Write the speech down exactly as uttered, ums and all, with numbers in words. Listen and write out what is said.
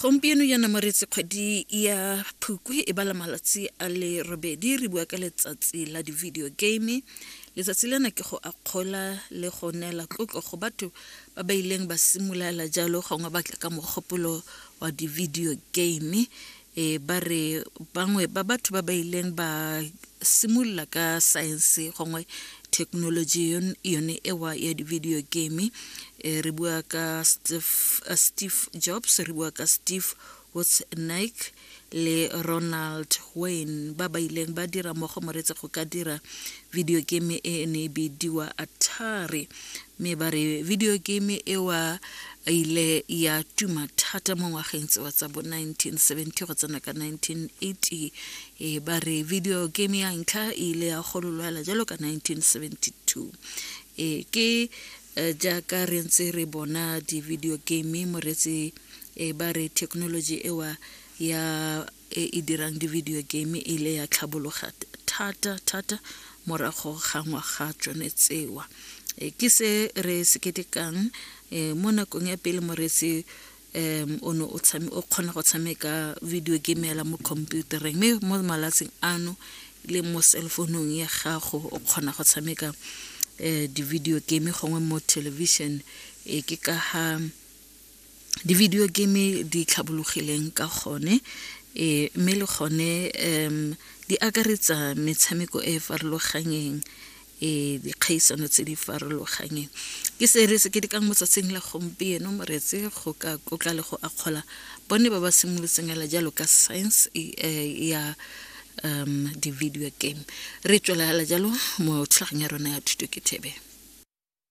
Gompieno jaana moreetsi, kgwedi ya Phukwi e bala malatsi a le robedi, re bua ka letsatsi la di-video game. Letsatsi lena ke go akgola le go neela tlotlo go batho ba ba ileng ba simolola jalo gongwe ba tla ka mogopolo wa di-video game. E ba re bangwe ba batho ba ba ileng ba simolola ka science gongwe technology yone ewa ya di-video game, e re bua ka Steve, uh, Steve Jobs, re bua ka Steve Wozniak le Ronald Wayne, ba ba ileng ba dira mmogo moreetsi go ka dira video game e ne e bidiwa Atari. Mme ba re video game ewa ile ya tuma thata mo ngwageng tsewa tsa bo nineteen seventy go tsena ka nineteen eighty. E ba re video game ya ntlha e ile ya gololwa jalo ka nineteen seventy two. E ke jaaka re ntse re bona di-video game moreetsi, e ba re technology ewa ya e e dirang di-video game e ile ya tlhabologa thata thata morago ga ngwaga tsone tsewa. E ke se re se ketekang e mo nakong ya pele moreetsi, um o ne o tshame o kgona go tshameka video game hela mo computereng, mme mo malatsing ano le mo cell phone-ung ya gago o kgona go tshameka um di-video game gongwe mo television. E ke ka ha di-video game di tlhabologileng ka gone, e mme le gone um di akaretsa metshameko e e farologanyeng, e dikgaisano tse di farologanyeng. Ke se re se ketekang mo tsatsing la gompieno moreetsi, go ka tlotla le go akgola bone ba ba simolotseng hela jalo ka science ya um di-video game. Re tswelela jalo mo thulaganyong ya rona ya Thuto ke Thebe.